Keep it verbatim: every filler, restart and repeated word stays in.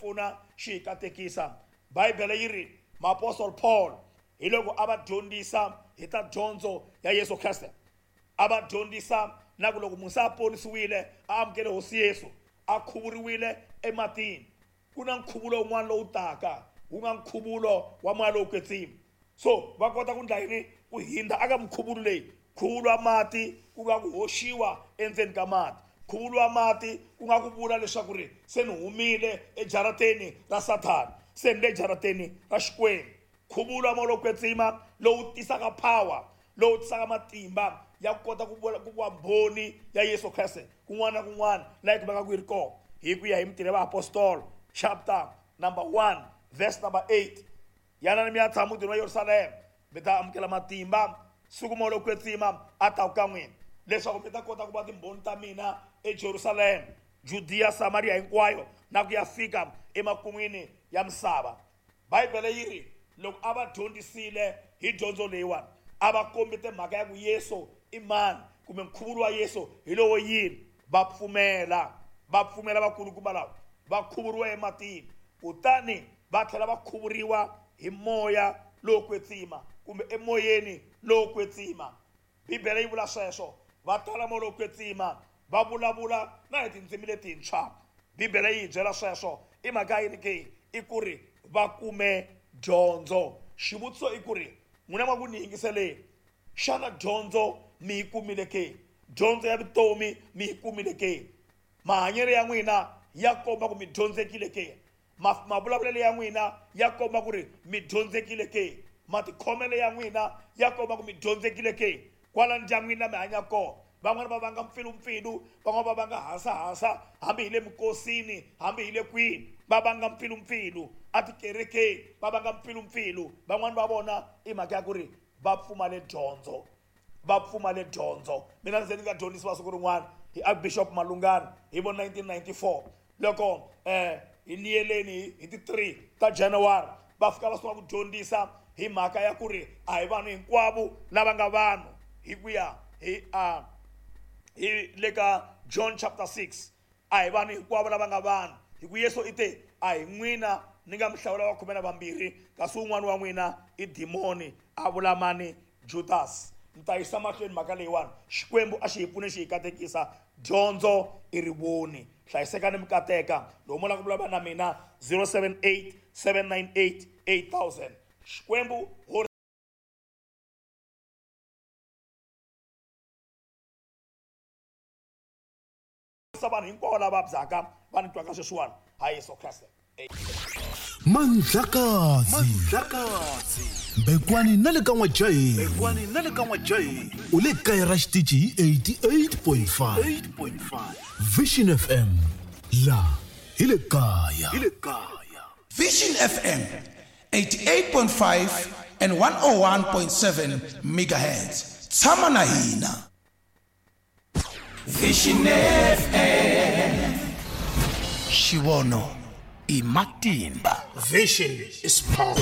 pfuna xi hi katekisa. Bibele yi ri Apostle Paul hi loko a va dyondzisa hi ta dyondzo ya Yesu Kreste, a va dyondzisa na ku loko munhu se a ponisiwile a amukele Hosi Yesu a khuvuriwile ematini, ku na nkhuvulo wun'wana lowu taka wu nga nkhuvulo wa moya lowo kwetsima. So va kota ku endla yini? Ku hindza aka minkhuvulo leyi. Nkhuvulo wa mati ku nga ku hoxiwa endzeni ka mati, nkhuvulo wa mati ku nga ku vula leswaku ri se ni humile ejarateni ra Sathana, se ni le jarateni ra Xikwembu. Nkhuvulo wa moya lowo kwetsima lowu tisaka power, lowu tisaka matimba ya ku kota ku vula ku va mbhoni ya Yesu Kreste kun'wana na kun'wana laha yi kumekaka yi ri kona, hi ku ya hi Mintirho ya Vaapostolo chapter number one verse number eight. Yanani mi ya tshama mutini wa Yerusalema, mi ta amukela matimba siku moya lowo kwetsima a ta ka n'wina, leswaku mi ta kota ku va timbhoni ta mina eJerusalema, Judiya, Samaria hinkwayo na ku ya fika emakun'wini ya misava. Bibele yi ri loko a va dyondzisile hi dyondzo leyiwani, a va kombete mhaka ya ku Yesu i mani kumbe nkhuvulo wa Yesu hi lowo yini, va pfumela, va pfumela vakulukumba lava, va khuvuriwa ematini, kutani va tlhela va khuvuriwa hi moya lowo kwetsima kumbe emoyeni lowo kwetsima. Bibele yi vula sweswo, va tala moya lowo kwetsima, va vulavula na hi tindzimi letintshwa. Bibele yi hi byela sweswo. I mhaka yini ke? I ku ri va kume dyondzo. Xivutiso i ku ri n'wina ma ku ni yingiseleni, xana dyondzo mi yi kumile ke? Dyondzo ya vutomi mi yi kumile ke? Mahanyelo ya n'wina ya komba ku mi dyondzekile ke? Mavulavulelo ya n'wina ya komba ku ri mi dyondzekile ke? Matikhomelo ya n'wina ya komba ku mi dyondzekile ke? Kwala ndyangwini la mi hanya kona, van'wana va vanga mpfilumpfilu, van'wana va vanga hasahasa, hambi hi le minkosini, hambi hi le kwini, va vanga mpfilumpfilu atikerekeni, va vanga mpfilumpfilu. Van'wana va vona i mhaka ya ku ri va pfumale dyondzo, va pfumale dyondzo. Mina ndzi nga dyondzisiwa siku rin'wana hi Archbishop Malungana hi vo nineteen ninety-four, loko eh hi niyeleni hi ti three ta January, va fika va sungula ku dyondzisa hi mhaka ya ku ri a hi vanhu hinkwavo lava nga vanhu, hi ku ya hi a hi le ka John chapter six. A hi vanhu hinkwavo lava nga vanhu, hi ku Yesu i te a hi n'wina ni nga mi hlawula va khume na vambirhi, kasi wun'wana wa n'wina i dimoni, a vula mani? Judas. Ni ta yisa mahlweni mhaka leyiwani. Xikwembu a xi hi pfune xi hi katekisa. Dyondzo i rivoni. Hlayisekani mi kateka. Loko mo lava ku vulavula na mina zero seven eight seven nine eight eight thousand. Xikwembu horisa vanhu hinkwavo lava vabyaka va ni twaka sweswiwani ha Yesu Kreste. Mandlakazi, Mandlakazi, Bekwani na le ka N'wajahi, Bekwani na le ka N'wajahi, u le kaya ra xitichi hi eighty-eight point five Vision F M, la hi le kaya, hi le kaya. Vision F M eighty-eight point five and one oh one point seven megahertz. Tshama na hina. Vision F M. Xivono i matimba. Vision is power.